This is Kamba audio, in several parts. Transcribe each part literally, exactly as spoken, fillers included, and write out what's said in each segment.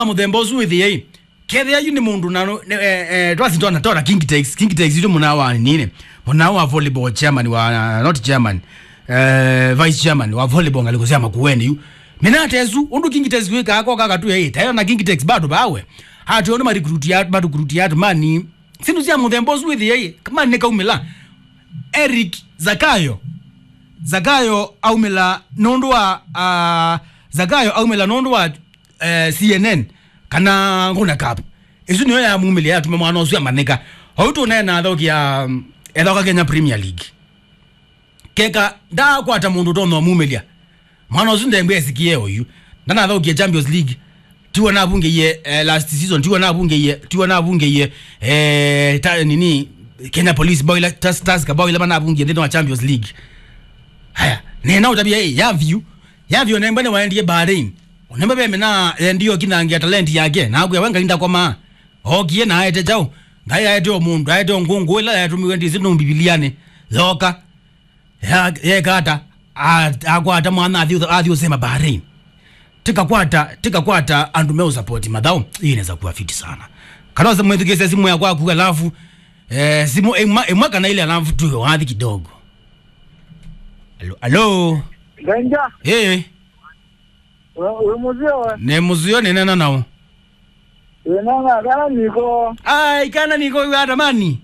mũthemba ũsu wĩthĩei. Kethĩa yu nĩ mũndũ na, nĩ, eh, eh, twasi twana, twana King Tex, King Tex yu mũna wa nini? Mũna wa volleyball chairman wa, not chairman, eh, vice chairman wa volleyball ngalĩko sya Makueni yu. Mena tesu, ũndũ King Tex wĩkaa koka katu yai, tayo na King Tex bado bawe. Hati ũndũ ma recruit ya, ma recruit ya mani. Sindu sya mũthemba ũsu wĩthĩei, kama nĩ kaumĩla. Eric Zakayo. Zakayo aumĩla nũndũ wa, ah, Zakayo aumĩla nũndũ wa, eh, C N N kana Nguna Cup. Ĩsu nĩyo yamumĩlya yatuma mwana ũsu amanyĩka. Oyu tũneena athaũkĩa, mm, ethaũka Kenya Premier League. Keka ndaakwata mũndũ ũtonya ũmumĩlya. Mwana ũsu ndembwe esikie oyu. Ndanathaũkie Champions League. Tiwa navungĩie, eh, last season, tiwa navungĩie, tiwa navungĩie, eh, ta, nini, Kenya Police bao ila, Tas-, Tusker bao ila manavungie nthĩnĩ wa Champions League. Haya, nena ũtavia, eh, Yavyu. Yavyu nembwe nĩwaendie Bahrain. Nembwe vemena endio kinangia talent yake. Na akwĩa we Ngai ndakoma. Okie na aete chao. Ngai aete o mũndũ, aete o ngũngũ ila yatumiwe ndisi nũ Bibiliani. Yoka. Ya-, yeka ata? A-, akwata mwana athi, athi ũsema Bahrain. Tikakwata, tikakwata andũ me usapoti mathaũ, hii inaweza kuwa fiti sana. Kana ose mwĩthukĩĩsya simu ya kwaku, alafu, eh, simu ĩmwe, ĩmwe kana ile, alafu tu wathi kidogo. Alo, alo. Danger. Eh. Wĩ, wĩ mũseo we? Nĩ mũseo, nĩ nena nao. Wĩ nanga kana niko. Ai, kana niko, wĩ atamani.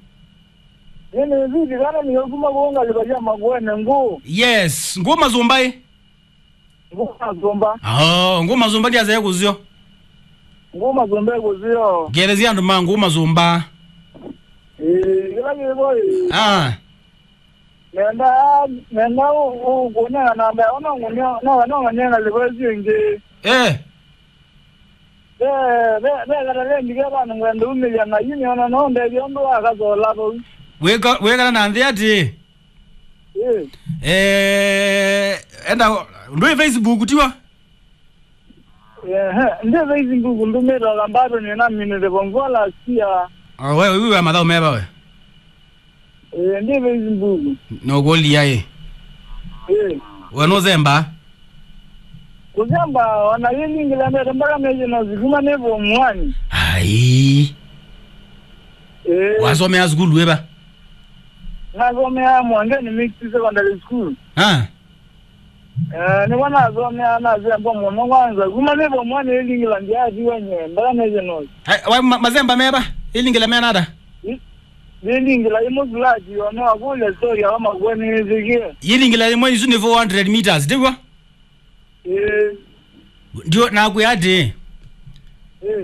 Nĩ nĩ vivi kana niko kuma kuonga libaja magwene ngũ. Yes, ngũ mazumbai. Ngũ mazumba. Oh, ngũ mazumba ndiaze kuzio. Ngũ mazumba kuzio. Ngelezia andũ ma ngũ mazumba. Eh, kila kiboy. Ah. Nenda, nenda u-, u-, kuneana namba yao, no ngunio, no, no nganyenga livoice ingi. Eh. Be, be, be kata lendi ke bana ngwenda umilya na yini ona no ndethia undu wa kazola vau. Weka, weka na nthi ati? Eh. Eh, enda, ndui Facebook tiwa? Ehe, ndi Facebook ndumĩte o kambato nĩ na minute vongola sia. Ah, we, we, we, mathaũ meva we? Eh, ndi Facebook. No kulia eh. Eh. We no zemba? Kuzemba, ona yili ngila mbele mpaka meje na zikuma nevo mwani. Ai. Eh. Wasomea sukulu eba? Nasomea Mwangeni Mixed Secondary School. Ah. Eh, nĩvo nasomea, nasemba mũno kwanza. Kuma nĩ vamwe nĩlingĩla ndyathiwa nyenda, nĩsĩ no. Ai, wa, ma-, masemba meva? Ilingĩla mena ata? I-, nĩlingĩla imwe fulati, ono akũlya story ya makuwa nĩsikie. Ilingĩla imwe isu nĩ four hundred meters, ndivyo? Eh. Ndio, nakwĩa ati, eh,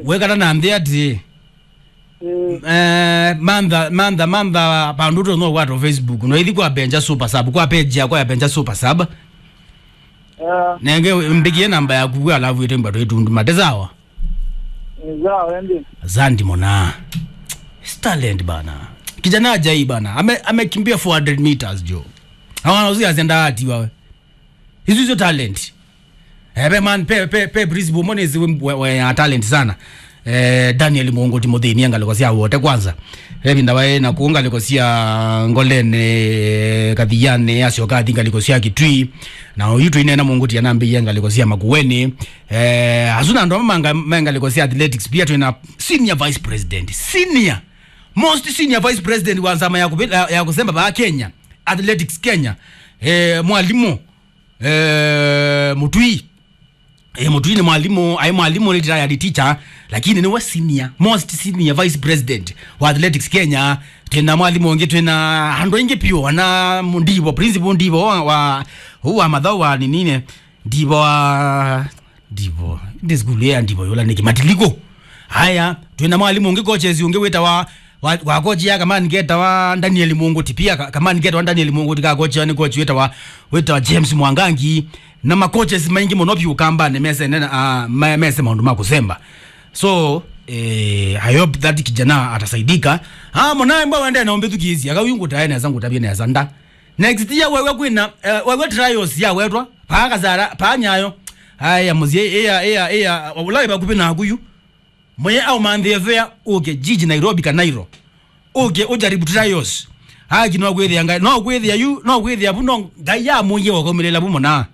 wekana na nthĩ ati, mm, eh, mantha, mantha, mantha, pandu to no wato Facebook. No ithi kwa Benja Super Sub, kwa page yakwa ya Benja Super Sub. Ah. Nenge mbikie namba yaku, alafu ite mbato itundu mate, sawa? Ni sawa, ende. Asante mwana. It's talent bana. Kijana ajai bana. Ame-, amekimbia four hundred meters, jo. Hawana uzi azenda ati wawe. Isu isu talent. Eh, pe man, pe, pe, pe principal mone zi we, we, we ya talent sana. Eh, Daniel Mungu Timothy ni ngalĩko sya wote kwanza. Evinda wae na ku ngalĩko sya Ngolene, eh, Kathiani, asyoka athi ngalĩko sya Kitui. Na oyu twinena Mungu tia nambiye ngalĩko sya Makueni. Eh, asu na andũ amwe manga-, me ngalĩko sya athletics. Pia twina senior vice president. Senior. Most senior vice president wa nzama ya kubi-, ya, ya kusemba ba Kenya. Athletics Kenya. Eh, mwalimu. Eh, Mutui. Eh, Mutui nĩ mwalimu, ai mwalimu, retired teacher, lakini nĩwe senior, most senior vice president wa athletics Kenya. Twĩna mwalimu ũngĩ, twĩna andũ aingĩ piũ, ana Ndivo, principal Ndivo wa, wa, wa mathaũ wa ninine, Ndivo wa, Ndivo, ndi sukulu ya Ndivo yũla nĩkĩ, Matiliko. Aya, twĩna mwalimu ũngĩ, coaches ũngĩ wĩtawa, wa, wa coach ya kamani ketawa Daniel Munguti. Pia ka-, kamani ketawa Daniel Munguti ka coach, ni coach wĩtawa, wĩtawa James Mwangangi. Na ma coaches maingĩ mũno vyũ kambanĩ mese nena, ah, ma-, mese maũndũ ma kũsemba. So, eh, I hope that kijana atasaidika. Ah, mwana mba wende na ũmbĩthukĩĩsya. Aka uyu ngũtae nesa, ngũtavye nesa nda. Next year wewe kwĩna, eh, wewe trials ya wetwa, paa Kasara, paa Nyayo. Aya, mũsyĩ, ĩa, ĩa, ĩa, ũla wĩ vakuvĩ naku yu. Mũye aumanthĩe fea, ũke jiji Nairobi ka Nairo. Ũke ũjaribu trials. Haki no kwĩthĩa Ngai, no kwĩthĩa yu, no kwĩthĩa vu, no Ngai amũie ũkaumĩlĩla vu mũna.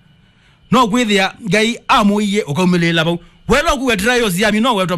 No kwĩthĩa Ngai amũie ũkaumĩlĩla vau. Wela ũkuwe trials ya mino wetwa